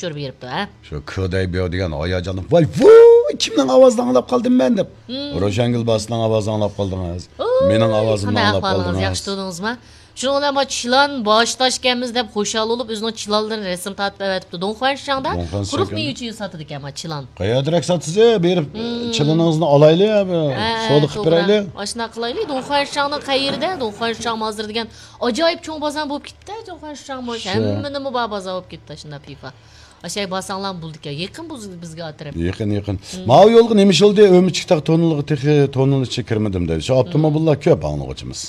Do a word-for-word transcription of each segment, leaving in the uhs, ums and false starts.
ئۇچۇر بېرىپتۇ، ھە؟ شۇ كودەي بيو دېگەن ھاياجاندا، ۋاي ۋۇي، كىمنىڭ ئاۋازىنى ئاڭلاپ قالدىم مەن دەپ. روشەنگۈل باسىنىڭ ئاۋازىنى ئاڭلاپ قالدىڭىز. ئۇي، مېنىڭ ئاۋازىمنى قانداق ئاڭلاپ ئەھۋالىڭىز؟ قالدىڭىز. ياخشى تۇردىڭىزمۇ؟ شۇنىڭ بىلەن ما چىلان باش تاشكەنمىز دەپ خۇشال بولۇپ، ئۆزىنىڭ چىلانلىرىنى رەسىم تارتىپ ئەۋەتىپتۇ. دۇڭخۇەنشاڭدا دۇڭخۇەنشاڭ قۇرۇق مېۋە چېيى ساتىدىكەن ما چىلان. قەيەردىرەك ساتىسى؟ بېرىپ چىلىنىڭىزنى ئالايلى، ھە، سودا قىلىپ بېرەيلى. ئاشۇنداق قىلايلى. دۇڭخۇەنشاڭنىڭ قەيىرىدە؟ دۇڭخەنشاڭ ھازىر دېگەن ئاجايىپ چوڭ بازار بولۇپ كېتىپتۇ، دۇڭخەنشاڭمۇ. ھەممە نېمە بار بازار بولۇپ كېتىپتۇ، شۇنداق پىفا. ئاشاي بارساڭلارمۇ بولىدىكەن. يېقىن بۇ بىزگە ئاتىرىپ. يېقىن، يېقىن. ماۋۇ يولغا نېمە ئىش بولدى؟ ئۆمۈچۈكتاغ توننىلىغا تېخى توننىل ئىچىگە كىرمىدىم دەيدۇ. شۇ ئاپتوموبىللار كۆپ ئاڭلىغۇچىمىز.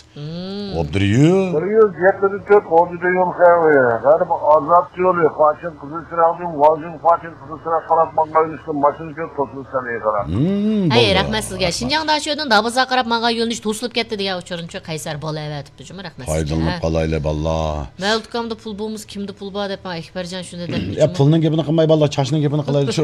ئوبدۇريۇ. بىر يۈز يەتتە تۆت ئوردىدا يول خەۋىرى. غەرب ئازاد يولى، فاشىن قىزىل چىراغدىن، ۋاڭجىن فاشىن قىزىل چىراغ قاراپ ماڭغان يۈرۈشتە ماشىنا كۆپ توسۇلسا ئېغىرا. ھەي، رەھمەت سىزگە. شىنجاڭ داشۆدىن دابازا قاراپ ماڭغان يۆنىلىش توسۇلۇپ كەتتى دېگەن ئۇچۇرنى شۇ قەيسەر بالا ئەۋەتىپتۇ جۇمۇ، رەھمەت سىزگە. پايدىلىنىپ قالايلى باللا. مەۋلۇت ئاكامدا پۇل بولمىسا كىمدە پۇل بار دەپ ماڭا ئەكبەرجان شۇنى دەپ. يا پۇلنىڭ گېپىنى قىلماي باللا، چاچنىڭ گېپىنى قىلايلى شۇ.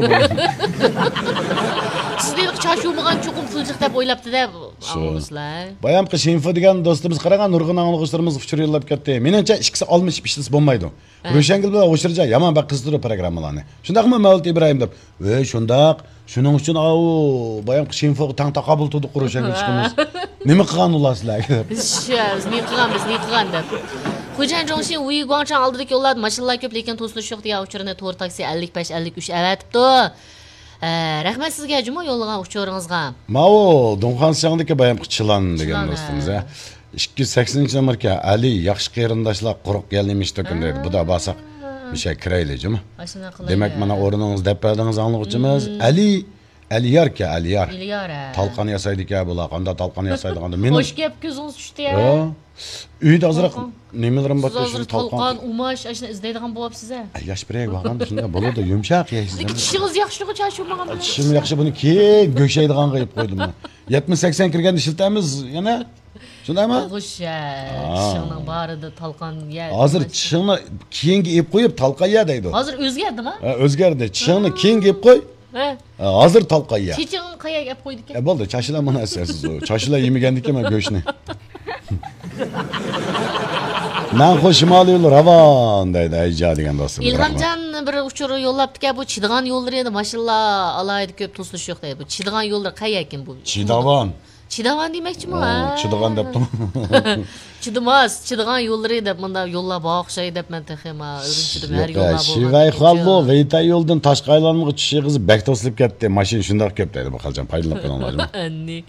سىز دېدىق چاچ يۇمىغان چوقۇم پۇل جىق دەپ ئويلاپتۇ دەپ. شۇ. ئاڭلىغۇچىلار. بايامقى شىنفو دېگەن دوستىمىز قاراڭا، نۇرغۇن ئاڭلىغۇچىلىرىمىزغا ئۇچۇر يوللاپ كەتتى. مېنىڭچە ئىككىسى ئالمىشىپ ئىشلىسە بولمايدۇ. ھە. روشەنگۈل بىلەن ئوشۇرجان يامان بەك قىزىتىدۇ پروگراممىلارنى. شۇنداقمۇ مەۋلۇت ئىبراھىم دەپ. ۋەي شۇنداق. شۇنىڭ ئۈچۈن ئاۋۇ بايامقى شىنفوغا تەڭ تاقابىل تۇردۇق روشەنگۈل ئىككىمىز. نېمە قىلغان ئۇلار سىلەرگە دەپ. بىز شۇ، بىز نېمە قىلغان، بىز نېمە قىلغان دەپ. خوجايىن جوڭشىن ۋۇيى گۇاڭچاڭ ئالدىدىكى يوللاردا ماشىنىلار كۆپ، لېكىن توسۇلۇش يوق دېگەن ئۇچۇرنى تور تاكسى ئەللىك بەش ئەللىك ئۈچ ئەۋەتىپتۇ. ئە، رەھمەت سىزگە جۇمۇ يوللىغان ئۇچۇرىڭىزغا. ماۋۇ دۇڭخەنشاڭدىكى بايامقى چىلان دېگەن چىلان، دوستىمىز، ھە. ھە. ئىككى يۈز سەكسىنىنچى نومۇركەن، ئەلى، ياخشى قېرىنداشلار قۇرۇق يەللىمىش تۆكۈن دەيدۇ. بۇدا بارساق، مۇشۇ يەرگە كىرەيلى جۇمۇ. ئاشۇنداق قىلايلى. دېمەك، مانا ئورنىڭىزنى دەپ بەردىڭىز ئاڭلىغۇچىمىز. ئەلى، ئەلىياركەن، ئەلىيار. ئەلىيار، ھە. تالقان ياسايدىكەن بۇلار. قانداق تالقان ياسايدىغاندا مېنىڭ. خوش گەپ، كۆزىڭىز چۈشتى، ھە. ھە؟ ئۆيدە ئازراق نېمىلىرىم بار، شۇنى تالقان. تالقان، ئۇماش، ئاشۇنى ئىزدەيدىغان بولۇپسىز، ھە؟ ئە، ياش بىرەيگە بارغاندا شۇنداق بولىدۇ، يۇمشاق يەيسىز. لېكىن چىشىڭىز ياخشىلىقى چاچ يۇمىغان بىلەن. چىشىم ياخشى، بۇنى كېيىن گۆشەيدىغانغا يېپىپ قويدۇم. يەتمىش سەكسەن كىرگەندە ئىشلىتەمىز يەنە. شۇنداقمۇ؟ بولغۇچە، چىشىڭنىڭ بارىدا تالقان يە. ھازىر چىشىڭنى كېيىنگە ئېلىپ قويۇپ، تالقان يە دەيدۇ. ھازىر ئۆزگەردىما؟ ھە، ئۆزگەردى. چىشىڭنى كېيىنگە ئېلىپ قوي. ھە. ھە، ھازىر تالقان يە. چېچىڭنى قايەرگە ئەپ قويدىكەن؟ ئە، بولدى، چاچىلار مانا ئەسەرسىز. چاچىلار يېمىگەندىكىن مەن گۆشنى. مەن خۇ شىمالىي يول راۋان دەيدۇ، ئەيجا دېگەن دوستۇم. ئىلھامجان بىر ئۇچۇر يوللاپتىكەن، بۇ چىدىغان يوللىرى ماشىنىلار ئالاھىدە كۆپ توسۇلۇش يوق دەيدۇ. بۇ چىدىغان يوللىرى قەيەركىن بۇ؟ چىداۋان. چىداۋان دېمەكچىمۇ، ھە؟ چىدىغان دەپتۇ. چىدىماس، چىدىغان يوللىرى دەپ مۇنداق يوللار بار ئوخشاي دەپ مەن تېخىما ئۆگىنىپ چىدىم. ھەر يوللار بولغان. شىۋەي خاللو ۋېيتەي يولىدىن تاشقى ئايلانمىغا چۈشۈشى غىزى بەك توسۇلۇپ كەتتى. ماشىنا شۇنداق كۆپ دەيدۇ بۇ خالجان. پايدىلىنىپ قېلىڭلار جۇمۇ. ئەننى.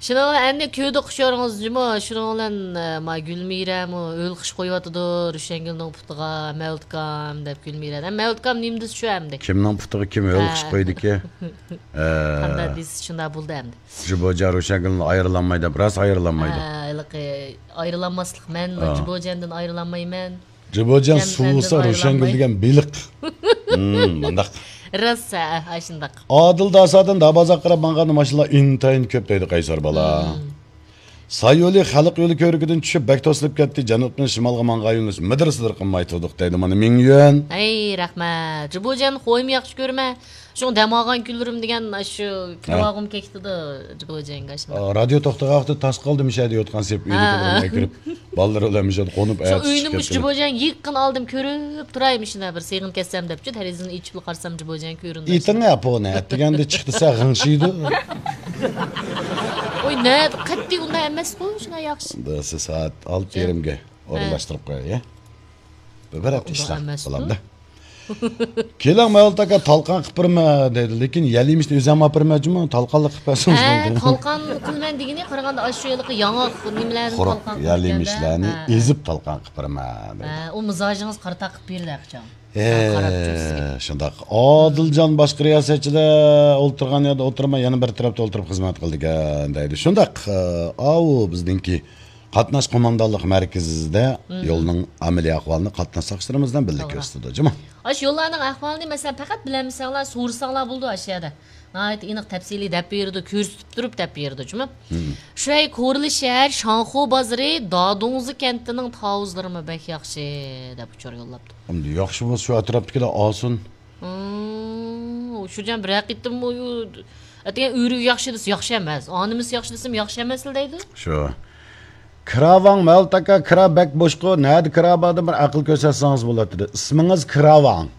شۇنىڭ بىلەن ئەننى كۆردۇق ئۇچۇرىڭىز جۇمۇ. شۇنىڭ بىلەن، ئە، ما گۈلمىرەمۇ ئۆلخىش قويۇۋاتىدۇ. روشەنگۈلنىڭ پۇتىغا مەۋلۇتكام دەپ گۈلمىرە. ھە، مەۋلۇتكام نېمە دېسە شۇ ئەمدى. كىمنىڭ پۇتىغا كىم ئۆلخىش قويدىكى؟ ھە. قانداق دېسە شۇنداق بولدى ئەمدى. جۇبوجان روشەنگۈلنى ئايرىلالمايدۇ دەپ، راست ئايرىلالمايدۇ. ھە، ھېلىقى ئايرىلالماسلىق، مەن جۇبوجاندىن ئايرىلالمايمەن. جۇبوجان سۇ بولسا روشەنگۈل دېگەن بېلىق. ھىم، مۇنداق. راست، ھە، ئاشۇنداق. ئادىل داسادىن دابازاق قاراپ ماڭغاندا ماشىنىلار ئىنتايىن كۆپ دەيدۇ قەيسەر بالا. ساي يولى خەلق يولى كۆۋرۈكىدىن چۈشۈپ بەك توسۇلۇپ كەتتى. جەنۇبتىن شىمالغا ماڭغان يۆنىلىش مىدىر-سىدىر قىلماي تۇردۇق دەيدۇ مانا مىڭ يۈەن. ھەي، رەھمەت. جۇبوجان خويمۇ ياخشى كۆرمە. شۇڭا دەم ئالغان كۈنلىرىم دېگەن شۇ كىرىۋالغۇم كەكتىدۇ جۇبوجانغا شۇنداق. ئا، رادىيو توختىغان ۋاقىتتا تاس قالدى مۇشۇ يەردە يوتقان سېلىپ ئۆيدىكىلەر بىلەن كىرىپ، بالىلار بىلەن مۇشۇ يەردە قونۇپ شۇ ئۆينى مۇشۇ جۇبوجان يېقىن ئالدىم كۆرۈپ تۇراي مۇشۇنداق بىر سېغىنىپ كەتسەم دەپچۇ دېرىزىنى ئېچىپلا قارىسام جۇبوجان كۆرۈندى. ئېيتىڭ ئە پونى ئەتىگەندە چىقتىسە غىڭشىيدۇ. ۋوي نە قەتئىي ئۇنداق ئەمەسقۇ شۇنداق ياخشى. سائەت ئالتە يېرىمگە ئورۇنلاشتۇرۇپ قوياي. بىر ھەپتە ئىشلەپ قالامدا. كېلىڭ مەۋلۇت ئاكا تالقان قىلىپ بېرىمەن دەيدۇ، لېكىن يەل يېمىشنى ئۆزۈم ئاپ بېرىمەن جۇمۇ، تالقانلا قىلىپ بەرسىڭىز ھە، بولدى. تالقان قىلىمەن دېگىنى قارىغاندا ئاشۇ ھېلىقى ياڭاق نېمىلەردىن قۇرۇق تالقان يەل قىلىپ يېمىشلەرنى بەردى. ھە. ئېزىپ تالقان قىلىپ بېرىمەن دەيدۇ. ھە، ئۇ مىزاجىڭىز قارا تاق قىلىپ بېرىدۇ قاچان. ھە، شۇنداق. ئادىلجان باشقا رىياسەتچىلەر ئولتۇرغان يەردە ئولتۇرماي، يەنە بىر تەرەپتە ئولتۇرۇپ خىزمەت قىلىدىكەن دەيدۇ. شۇنداق، ئاۋۇ بىزنىڭكى قاتناش قوماندانلىق مەركىزىدە يولنىڭ ئەمەلىي ئەھۋالىنى قاتناش ساقچىلىرىمىزدىن بىللە كۆرسىتىدۇ، جۇمۇ. ئاشۇ يوللارنىڭ ئەھۋالىنى، مەسىلەن، پەقەت بىلەلمىسەڭلار، سورىساڭلار بولىدۇ ئاشۇ يەردە. ناھايىتى ئېنىق، تەپسىلىي دەپ بېرىدۇ، كۆرسىتىپ تۇرۇپ دەپ بېرىدۇ، جۇمۇ. شۇەي كورلى شەھەر شاڭخۇ بازىرى دادۇڭزى كەنتىنىڭ تاۋۇزلىرىمۇ بەك ياخشى، دەپ ئۇچۇر يوللاپتۇ. ئەمدى ياخشى بولسا، شۇ ئەتراپتىكىلەر ئالسۇن. ئۇ شۇجان بىر ھەقىقەتتىنمۇ ئەتىگەن ئۆرۈك ياخشى دېسە ياخشى ئەمەس، ئانىمىس ياخشى دېسىمۇ ياخشى ئەمەس دەيدۇ. شۇ. كىراۋاڭ مەۋلۇت ئاكا، كىرا بەك بوشقۇ، نەدە كىرا باردىن بىر ئەقىل كۆرسەتسىڭىز بولاتتى. ئىسمىڭىز كىراۋاڭ.